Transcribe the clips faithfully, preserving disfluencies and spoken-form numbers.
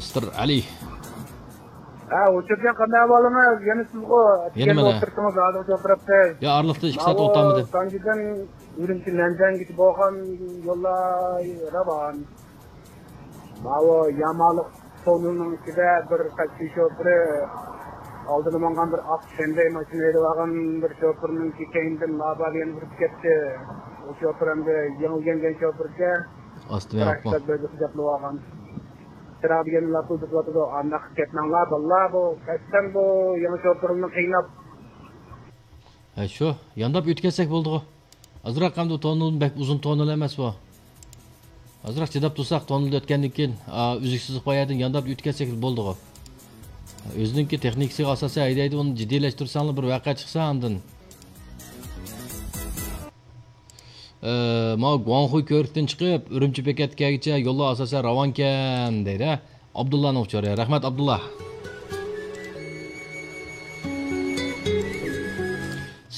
مىستېر ئەلى. ھە، ئۇچۇرجان، قانداق ئەھۋالىڭىز؟ يەنە سىزغۇ. يەنە ئەتىگەن مانا ئولتۇرسىڭىز، ھازىر ئولتۇرۇپسىز. يا، ئارىلىقتا ئىككى سائەت ماۋۇ ئولتۇرمىدىم. تانجىدىن ئۈرۈمچى نەنجىڭگىچە بولغان يوللار راۋان. ماۋۇ يامالىق توننېلنىڭ ئىچىدە بىر تاكسى شوپۇرى ئالدىدا ماڭغان بىر ئاق شەندەي ماشىنا ھەيدەۋالغان بىر شوپۇرنىڭكى كەينىدىن لابا دېگەن ئۇرۇپ كەتتى. ئۇ شوپۇر ئەمدى يېڭى ئۆگەنگەن شوپۇركەن. ئاستىمۇ ياقمۇ؟ تىراكتور بىر خىجابلىۋالغان. چىراغ دېگەن لاپىلدىتىۋاتىدۇ. ئانداق كەتمەڭلار بالىلار، بۇ قەستەن بۇ يېڭى شوپۇرنى قىيناپ. ھە، شۇ، يانداپ ئۆتۈپ كەتسەك بولدىغۇ. ئازراق ئەمدى توننېل، بەك ئۇزۇن توننېل ئەمەس بۇ. ئازراق چىداپ تۇرساق، توننېلدا ئۆتكەندىن كېيىن، ئا، ئۈزۈكسىز بايادىن يانداپ ئۆتۈپ كەتسەك بولدىغۇ. ئۆزىنىڭكى تېخنىكىسىغا ئاساسەن ھەيدەيدۇ، ئۇنى جىددىيلەشتۈرسەڭلار، بىر ۋەقە چىقسا ئاندىن. ئە، ماۋۇ گۇاڭخۇي كۆۋرۈكتىن چىقىپ، ئۈرۈمچى بېكەتكە كەلگۈچە يوللار ئاساسەن راۋانكەن، دەيدۇ، ھە؟ ئابدۇللانىڭ ئۇچۇرى. رەھمەت، ئابدۇللا.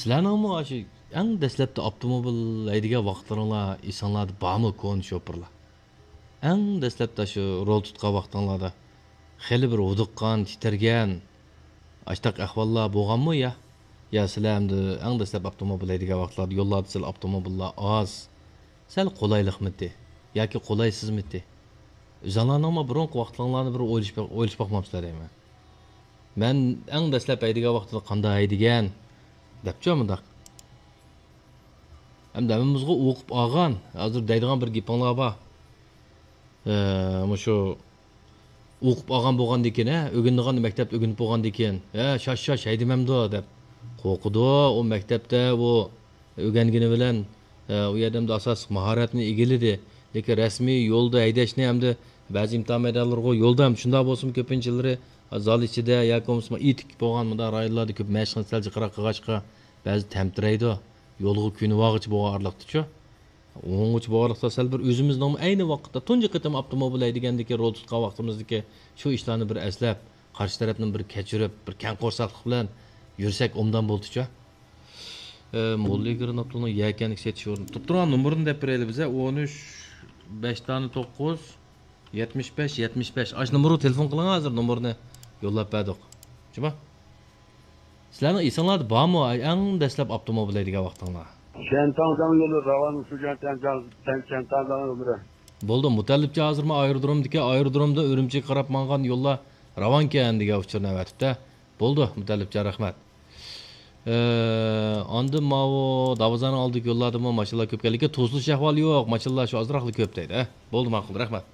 سىلەرنىڭمۇ ئاشۇ ئەڭ دەسلەپتە ئاپتوموبىل ھەيدىگەن ۋاقىتلىرىڭلار ئېسىڭلاردا بارمۇ، كونا شوپۇرلار؟ ئەڭ دەسلەپتە شۇ رول تۇتقان ۋاقتىڭلاردا خېلى بىر ھودۇققان، تىترىگەن، ئاشتاق ئەھۋاللار بولغانمۇ يا؟ يا سىلەر ئەمدى ئەڭ دەسلەپ ئاپتوموبىل ھەيدىگەن ۋاقىتلاردا يوللاردا سەل ئاپتوموبىللار ئاز، سەل قولايلىقمىتى ياكى قولايسىزمىتى؟ ئۆزۈڭلارنىڭمۇ بۇرۇنقى ۋاقىتلىرىڭلارنى بىر ئويلىشىپ بېق-، ئويلىشىپ باقمامسىلەر دەيمەن. مەن ئەڭ دەسلەپ ھەيدىگەن ۋاقتىدا قانداق ھەيدىگەن دەپچۇ مۇنداق. ئەمدى ھەممىمىزغۇ ئوقۇپ ئالغان، ھازىر دەيدىغان بىر گېپىڭلار بار. ئە، مۇشۇ ئوقۇپ ئالغان بولغاندىكىن، ھە، ئۆگىنىدىغاننى مەكتەپتە ئۆگىنىپ بولغاندىكىن، ھە، شاش، شاش، ھەيدىمەمدۇ دەپ قورقىدۇ. ئۇ مەكتەپتە ئۇ ئۆگەنگىنى بىلەن، ئە، ئۇ يەردە ئەمدى ئاساسلىق ماھارەتنى ئىگىلىدى. لېكىن رەسمىي يولدا ھەيدەشنى ئەمدى بەزى ئىمتىھان مەيدانلىرىغۇ يولدا ھەم شۇنداق بولسىمۇ كۆپىنچىلىرى زال ئىچىدە ياكى بولمىسا ئېتىك بولغان مۇنداق رايونلاردا كۆپ مەشىقنى سەل جىقراق قىلغاچقا بەزى تەمتىرەيدۇ. يولغا كۆنۈۋالغۇچە بولغان ئارىلىقتىچۇ. ئوڭغىچە بولغانلىقتا سەل بىر ئۆزىمىزنىڭمۇ ئەينى ۋاقىتتا تۇنجى قېتىم ئاپتوموبىل ھەيدىگەندىكى رول تۇتقان ۋاقتىمىزدىكى شۇ ئىشلارنى بىر ئەسلەپ، قارشى تەرەپنى بىر كەچۈرۈپ، بىر كەڭ قورساقلىق بىلەن يۈرسەك ئوبدان بولىدىچۇ. ئە، موللا ئىگىرىن ئابدۇلنىڭ يەكەندىكى سېتىش ئورنى. تۇرۇپ تۇرغان نومۇرىنى دەپ بېرەيلى بىزە. ئون ئۈچ، بەش دانە توققۇز، يەتمىش بەش، يەتمىش بەش. ئاشۇ نومۇرغا تېلېفون قىلىڭ، ھازىر نومۇرنى يوللاپ بەردۇق. جۇما. سىلەرنىڭ ئېسىڭلاردا بارمۇ، ئەڭ دەسلەپ ئاپتوموبىل ھەيدىگەن ۋاقتىڭلار؟ شيەنتاڭ داڭ يولى راۋان شۇجيەن تەنجاڭ، تەن-، شيەنتاڭ داڭ يولى. بولدى، مۇتەللىپجان ھازىرمۇ ئايرودرومدىكى، ئايرودرومدىن ئۈرۈمچىگە قاراپ ماڭغان يوللار راۋانكەن دېگەن ئۇچۇرنى ئەۋەتىپتۇ. بولدى، مۇتەللىپجان، رەھمەت. ئە، ئاندىن ماۋۇ داۋازانىڭ ئالدىدىكى يوللاردىمۇ ماشىنىلار كۆپ كەلدى. لېكىن توسۇلۇش ئەھۋالى يوق، ماشىنىلار شۇ ئازراقلا كۆپ دەيدۇ. ئە، بولدى، ماقۇل، رەھمەت.